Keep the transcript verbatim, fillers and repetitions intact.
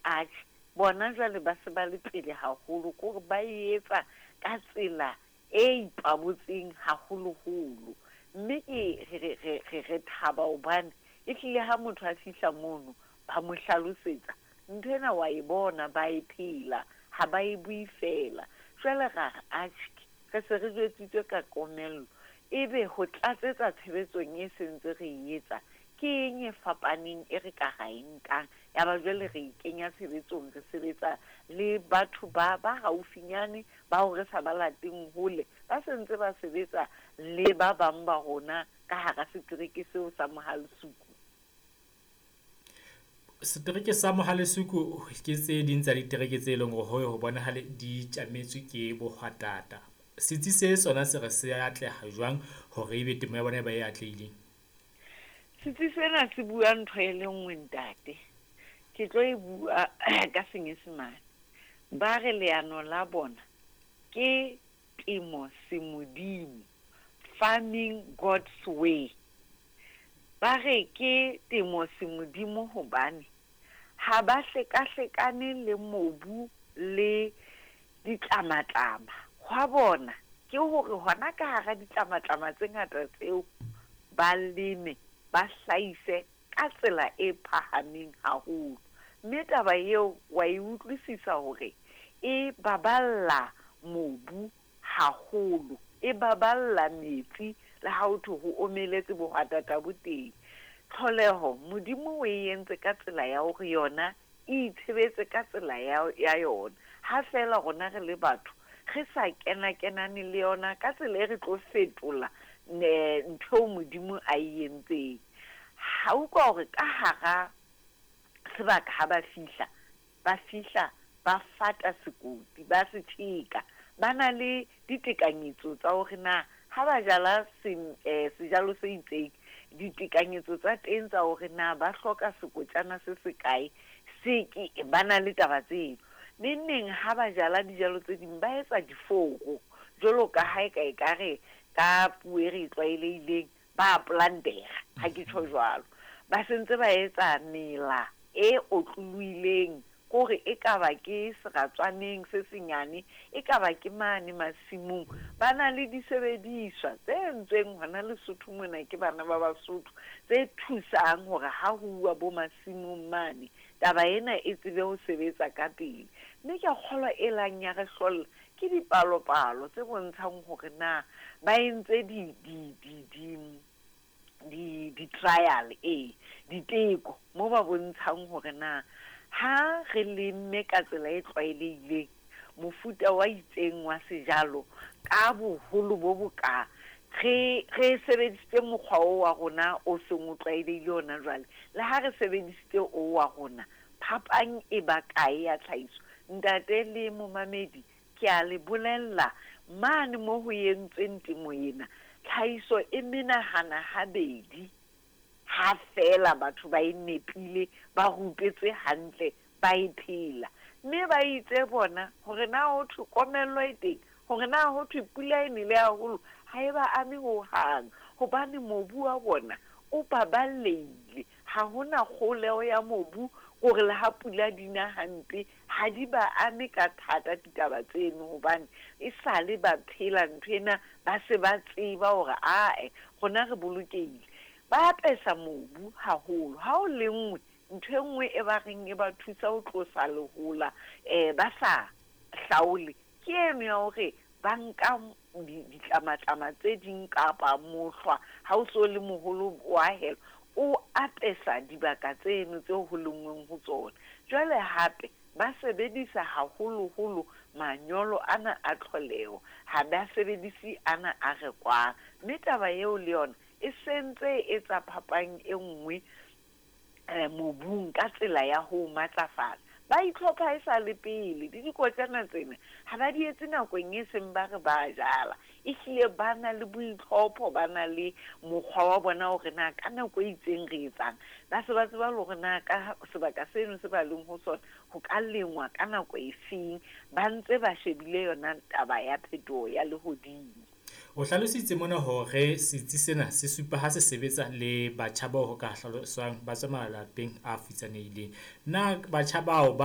Atjhe, bona jwale ba se ba le pele haholo, ke hore ba e etsa ka tsela e ipabotseng haholoholo. Mme ke re re re re thaba hobane ehlile ha motho a fihla mono ba mo hlalosetsa nthwena, wa e bona ba e phela, ha ba e bue fela. Jwale ra re atjhe, re se re jwetsitswe ka komello, ebe ho tlatsetsa tshebetsong e sentse re e etsa ke eng e fapaneng e re ka ra e nkang? Ya ba jwale re e kenya tshebetsong, re sebetsa le batho ba ba haufinyane bao re sa ba lateng hole, ba sentse ba sebetsa le ba bang ba rona ka hara setereke seo sa Mohale'shoek. Setereke sa Mohale'shoek ke tse ding tsa ditereke tse leng hore ho bonahale di tjametswe ke bohwatata. Setsi se sona se re se atleha jwang hore ebe temo ya bona e ba e atlehileng? Setsi sena se bua ntho e le nngwe, ntate. Ke tlo e bua ka Senyesemane. Ba re leano la bona ke temo semodimo, farming God's way. Ba re ke temo semodimo hobane ha ba hlekahlekane le mobu le ditlamatlama. Hwa bona ke hore hona ka hara ditlamatlama tse ngata tseo ba leme, ba hlahise ka tsela e phahameng haholo. Mme taba eo wa e utlwisisa hore e baballa mobu haholo, e baballa metsi le ha ho thwe ho omeletse, bohwatata bo teng. Tlholeho Modimo o e entse ka tsela ya hore yona e itshebetse ka tsela ya ya yona. Ha feela rona re le batho re sa kena kenane le yona ka tsela e re tlo fetola ntho eo Modimo a e entseng. Ha utlwa hore ka hara sebaka ha ba fihla, ba fihla ba fata sekoti, ba se tjheka. Ba na le ditekanyetso tsa hore na ha ba jala sejalo se itseng, ditekanyetso tsa teng tsa hore na ba hloka sekotjana se sekae, se ke ba na le taba tseo. Neng neng ha ba jala dijalo tse ding ba etsa diforo, jwalo ka ha eka ekare ka puo e re e tlwaelehileng ba plantera, ha ke tjho jwalo. Ba sentse ba etsa mela e otlolohileng, kore ekaba ke seratswaneng se senyane, ekaba ke mane masimong. Ba na le disebediswa tse entsweng hona Lesotho mona ke bana ba Basotho, tse thusang hore ha ho uwa bo masimong mane, taba ena e tsebe ho sebetsa ka pele. Mme ke a kgolwa e lang ya re hlolla ke dipalopalo tse bontshang hore na ba entse di di di di di di-trial, e diteko moo ba bontshang hore na ha re lemme ka tsela e tlwaelehileng mofuta wa itseng wa sejalo ka boholo bo boka, re re sebedisitse mokgwa o wa rona o seng o tlwaelehile hona jwale, le ha re sebedisitse o wa rona, phapang e ba kae ya tlhahiso? Ntate le momamedi, ke a le bolella, mane mo ho entsweng temo ena, tlhahiso e menahana habedi ha feela batho ba e nepile, ba rupetswe hantle, ba e phela. Mme ba itse bona hore na ho thwe komello e teng, hore na ho thwe pula e nele haholo, ha e ba ame hohang, hobane mobu wa bona o baballehile. Ha hona kgoholeho ya mobu hore le ha pula di na hampe, ha di ba ame ka thata ditaba tseno, hobane e sale ba phela nthwena, ba se ba tseba hore ae rona re bolokehile. Ba apesa mobu haholo. Ha o lenngwe, ntho e nngwe e ba reng e ba thusa ho tlosa lehola um ba sa hlaole, ke eno ya hore ba nka ditlamatlama tse ding kapa mohlwa ha o so le moholo wa hela, o apesa dibaka tseno tseo ho lenngweng ho tsona. Jwale hape ba sebedisa haholoholo manyolo ana a tlholeho, ha ba sebedise ana a rekwang. Mme taba eo le yona e sentse e etsa phapang e nngwe um mobung ka tsela ya ho matlafatsa. Ba itlhopha e sa le pele, le dikotjana tsena ha ba di etse nakong e seng ba re ba jala. Ehlile ba na le boitlhopho, ba na le mokgwa wa bona hore na ka nako e itseng re etsang. Ba se ba tseba le hore na ka sebaka seno se ba leng ho sona ho ka lengwa ka nako e feng, ba ntse ba shebile yona taba ya phetoho ya lehodimo. O hlalositse mona hore setsi sena se supa ha se sebetsa le batjha bao ho ka hlaloswang ba tswa malapeng a futsanehileng. Na batjha bao ba